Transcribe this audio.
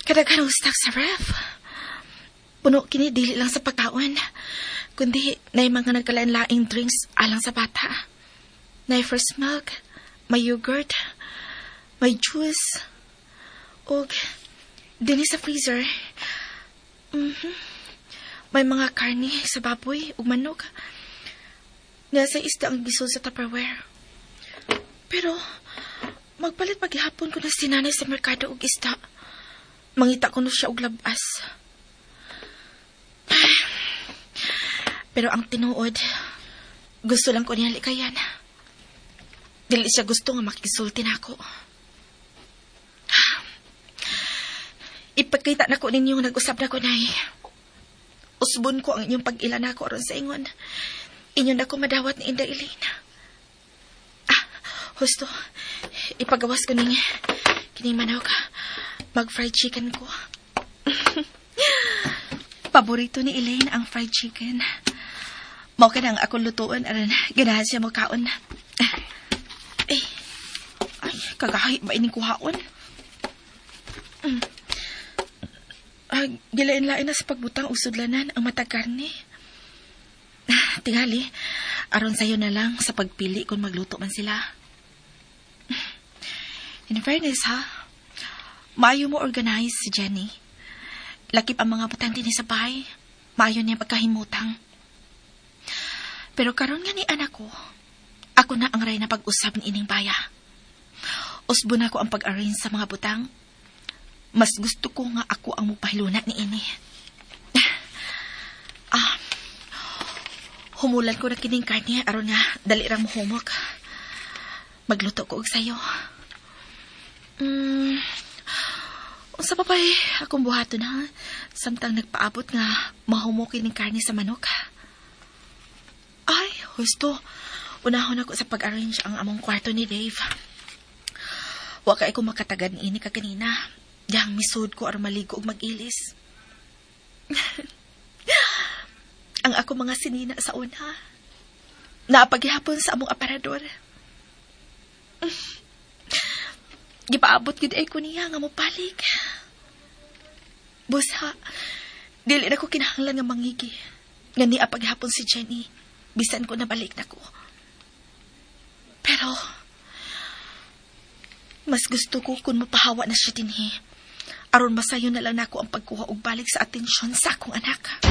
Kadaghan og stock sa ref. Puno kini dili lang sa pagkaon, kundi naay mga nagkalain-laing drinks alang sa bata. Naay fresh milk, may yogurt, may juice, ug dinhi sa freezer, may mga karne sa baboy ug manok. Nasa isda ang gisod sa Tupperware. Pero, magpalit paghihapon ko na si nanay sa merkado og isda. Mangita ko no siya og labas. Pero ang tinuod, gusto lang ko niya likayan. Dili siya gusto nga makisulti nako. Ipakita na ko ninyo nga nag-usap na ko, Nay. Usbon ko ang inyong pag-ila nako aron sa ingon. Inyo na ko madawat ni Inday Elena. Ah, husto. Ipagawas ko ning kining manok. Mag-fried chicken ko. Paborito ni Elaine ang fried chicken. Mao ka nang akong lutuon aron ganahan siya mokaon. Eh, ay, kagahi ba ining kuhaon? Ah, gilain-lain na sa pagbutang og sudlanan ang matag karne. Ah, tingali, aron sayo na lang sa pagpili kung magluto man sila. In fairness, ha? Maayo mo organize si Jenny. Lakip ang mga butang dinhi sa bahay. Maayo niya pagkahimutang. Pero karon nga ni anak ko, ako na ang ray na pag-usab ni ining baya. Usbo na ko ang pag-arrange sa mga butang. Mas gusto ko nga ako ang mupahiluna ni ini. Ah, humulan ko na kining karne aron nga dali ra mohumok. Magluto ko og sayo. Unsa pa pa'y akong buhaton ha? Samtang nagpaabot nga mahumok kining karne sa manok. Ay, husto. Unahon ako sa pag-arrange ang among kwarto ni Dave. Wa kay ko makatagad niini kaganina. Yang misud ko aron maligo og mag-ilis. Ang ako mga sinina sa una. Naapagihapon sa among aparador. Gipaabot gid ay ko niya nga mobalik. Busa, dili na ko kinahanglan nga mangigi. Nga niya paghapon si Jenny, bisan ko nabalik na ko. Pero, mas gusto ko kung mapahawa na siya dinhi. Aron masayo na lang nako ang pagkuha og balik sa atensyon sa akong anak.